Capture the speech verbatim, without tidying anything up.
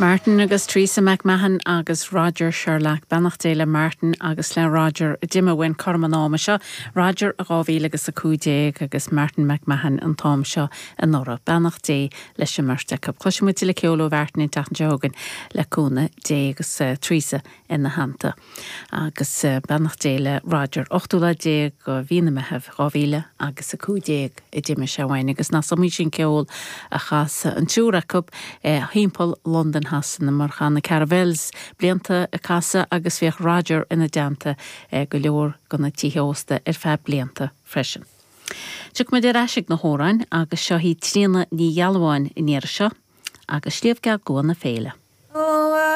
Martin agus Teresa McMahon agus Roger Sherlock beannacht Dé le Martin agus le Roger d'imigh uainn cothrom an ama seo, Roger a dhá mhíle agus a cúig déag agus Martin McMahon an t-am seo anuraidh. Beannacht Dé leis an mbeirt acu. Cloisfimid tuilleadh ceoil ó Mhartin an tseachtain seo chugainn le cúnamh Dé agus uh, Teresa ina theannta. Agus uh, beannacht Dé le Roger ochtú lá déag de mhí na Meitheamh dhá mhíle agus a cúig déag a d'imigh sé uainn agus nach iomaí sin ceol a chas an triúr acu eh, thimpeall Londain Shasana mar chan na Caravelles blianta ag casadh agus bhíodh Roger ina dteannta eh, go leor de na tithe ósta ar feadh blianta freisin. Tiocfaimid ar ais ag na hamhráin agus seo í Tríona Ní Ghealbháin in iar seo agus Sliabh Geal Gua na Féile.